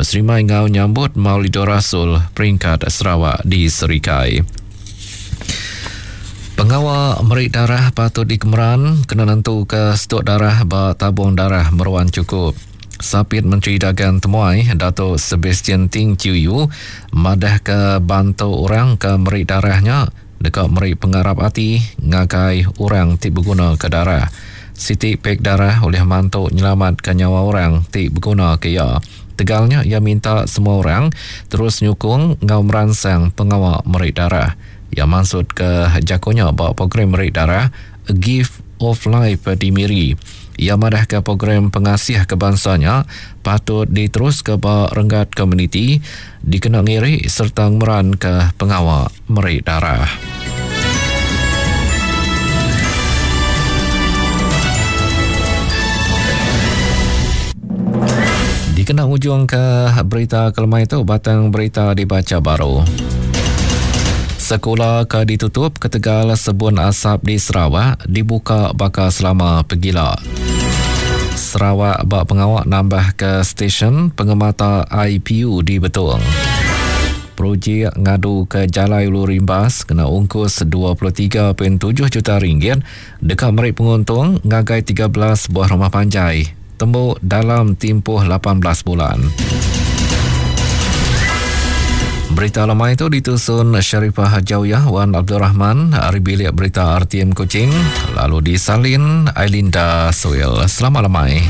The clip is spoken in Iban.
Beserimai enggau nyambut Maulidur Rasul peringkat Sarawak di Serikai. Pengawa meri darah patut dikemeran kena nentuka stuk darah ba tabung darah meruan chukup. Sapit Menteri Dagang Temuai Datuk Sebastian Ting Chiew Yew madahka bantu orang ke meri darah nya deka meri pengarap ati ngagai orang ti begunaka darah. Siti pek darah ulih mantu nyelamatka nyawa orang ti begunaka iya. Tegal nya iya minta semua orang terus nyukung enggau meransang pengawa meri darah. Iya mansutka jaku nya ba program meri darah A Gift of Life di Miri. Iya madahka program pengasih ke bansa nya patut diteruska ba renggat komuniti dikena ngiri sereta ngemeranka pengawa meri darah. Dikena ngujungka berita ke lemai tu, batang berita dibacha baru. Sekula ke ditutup ketegal sebun asap di Sarawak dibuka baka selama pegila. Sarawak ba pengawa nambahka stesen pengemata IPU di Betong. Projek ngaduka Jalai Ulu Rimbas kena ungkus 23.7 juta ringgit deka meri penguntung ngagai 13 buah rumah panjai tembu dalam timpuh 18 bulan. Berita lemai itu ditusun Sharifah Hajawiyah Wan Abdul Rahman ari bilik berita RTM Kuching lalu disalin Ailinda Suil. Selamat lemai.